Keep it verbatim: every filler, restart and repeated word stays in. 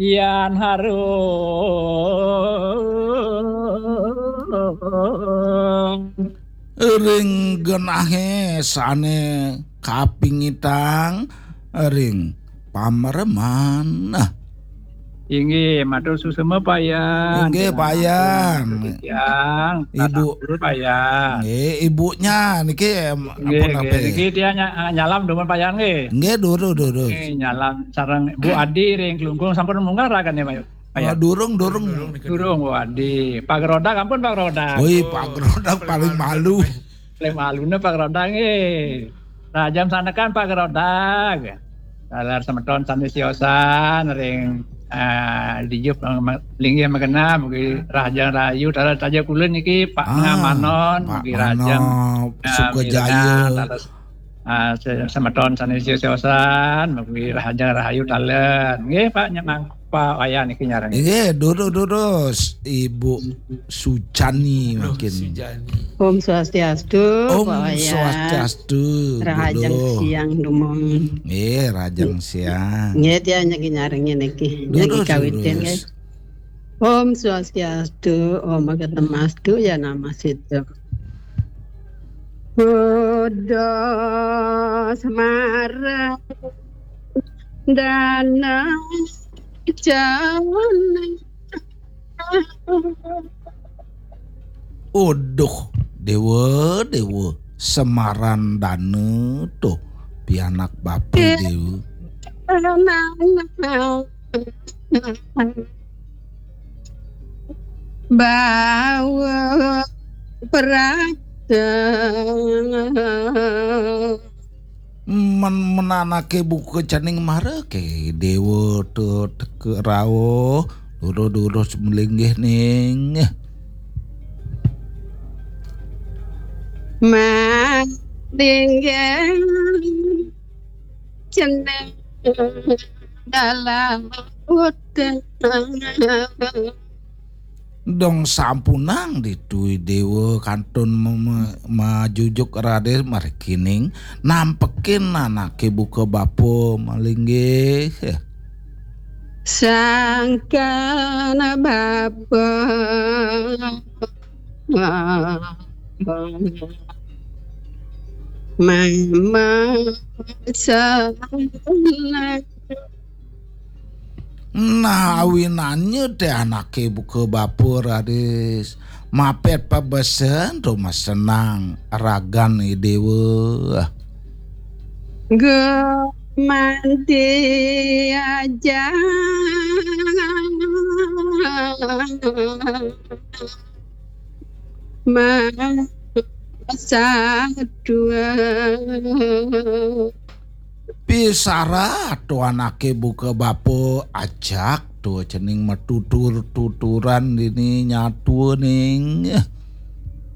Yan harung. Ring genahé sané kapingitang ring pamereman. Nah. Inggih, matur suksma Pak Yan. Inggih, Pak Yan. Tiang, Ibu. Dulu Pak Yan. Nggih, ibunya niki, em, Nggih, ampun, nggih. Niki tiang nya-, nyalam dumun Pak Yan nggih. Nggih, durus, durus. Nggih, nyalam sareng Bu Adi ring Klungkung sampun munggah ragan ya, Pak Yan? Oh, durung, durung. Durung, Bu Adi. Pak Rodak ampun, Pak Rodak. Woi, Pak Rodak paling malu. Paling malune Pak Rodak nggih. Rahajeng sanekan Pak Rodak. Taler semeton sané siosan ring, ah, dijur, eh, linggih magenah, mugi rahajeng rahayu, taler taja kula niki Pak Ah, Ngamanon, Pak mugi rahajeng, Mano, ah, Sukajaya. Mirengang, taler, ah, se-, semeton sané siosan, mugi rahajeng rahayu taler. Nggih, Pak, nyemang, Pak Wayan niki nyarengin. Nggih, durus, durus, Ibu Sujani. Aduh, mungkin. Sujani. Om Swastiastu, Om Pak Wayan. Swastiastu, Rahajeng Duduh. Siang dumun. Nggih, rahajeng siang. Nggih, tiang nyaki nyarengin niki. Nyaki Durus, kawitin, durus. Nggih. Om Swastiastu, Om Agamastu, ya nama situ. Buddha Semara Dana Jana. Aduh, Déwa, Déwa, Semara Dana to, pianak bapa Déwa. Bawa perasa. Men-, men anaké buka cening mara ké Déwa to teka rauh, durus-durus malinggih ning. Malinggih cening dalam hutan. Dong sampunang ditu Déwa kantun me-, me-, majujuk raris mregining nampekin anaké buka bapa malinggih. Sangkan bapa mama sana. Nah, awinannya té anaké buka bapa raris mapet pabesen rumasenang ragan Déwa. Gumanti aja. Masadua. Pisarat to anaké buka bapa ajak to cening matutur-tuturan dini nyatua ning.